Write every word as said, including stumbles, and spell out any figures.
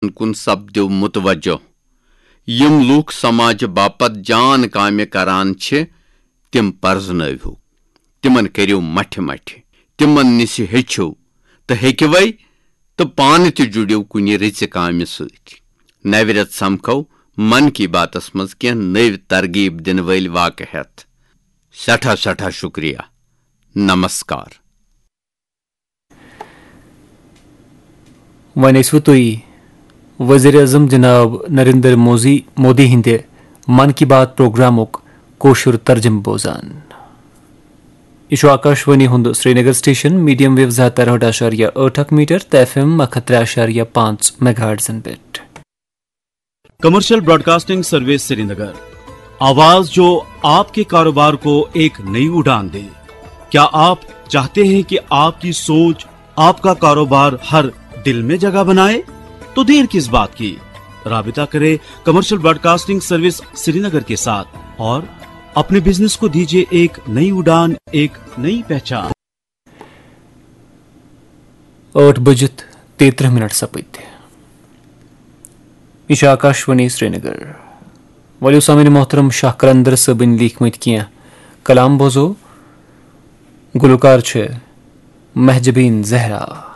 کُن سپدِو متوجہ۔ یِم لوٗکھ سماجہِ باپتھ جان کامہِ کران چھِ، تِم پرزنٲوِو، تِمن کٔرِو مٹھِ مٹھِ، تِمن نِش ہیٚچھِو تہٕ ہیٚکِوے تہٕ پانہٕ تہِ جُڑِو کُنہِ رٕژِ کامہِ سۭتۍ۔ نوِ رٮ۪تہٕ سمکھو من کی باتس منٛز کینٛہہ نٔوۍ ترغیب دِنہٕ وٲلۍ واقعہٕ ہٮ۪تھ۔ سٮ۪ٹھاہ سٮ۪ٹھاہ شُکریہ۔ نمسکار۔ وۄنۍ ٲسِو تُہۍ وزیر اعظم جناب نریندر موزی مودی ہٕنٛدِ من کی بات پروگرامُک کٲشُر ترجمہٕ بوزان۔ یہِ چھُ آکاشوانی ہُنٛد سرینگر سٹیشن، میڈیم ویو زٕ ہتھ ترٕہٲٹھ اعشاریہ ٲٹھ اکھ میٹر تہٕ ایف ایم اکھ ہتھ ترٛےٚ اعشاریہ پانٛژھ میگا ہرٹزن پٮ۪ٹھ۔ کمرشل براڈکاسٹنگ سروس سرینگر، آواز جو آپ کے کاروبار کو ایک نئی اڑان دے۔ کیا آپ چاہتے ہیں کہ آپ کی سوچ، آپ کا کاروبار ہر دل میں جگہ بنائے؟ تو دیر کس بات کی؟ رابطہ کرے کمرشل براڈکاسٹنگ سروس سرینگر کے ساتھ اور اپنے بزنس کو دیجیے ایک نئی اڑان، ایک نئی پہچان۔ ٲٹھ بٔجِتھ تیٚیہِ ترٕٛہ منٹ سپٕدۍ۔ یہِ چھُ آکاشوانی سرینگر۔ ؤلِو سامعین محترم، شاہ قلندر صٲبٕنۍ لیٖکھمٕتۍ کینٛہہ کلام بوزو۔ گلوکار چھِ مہجبین زہرا۔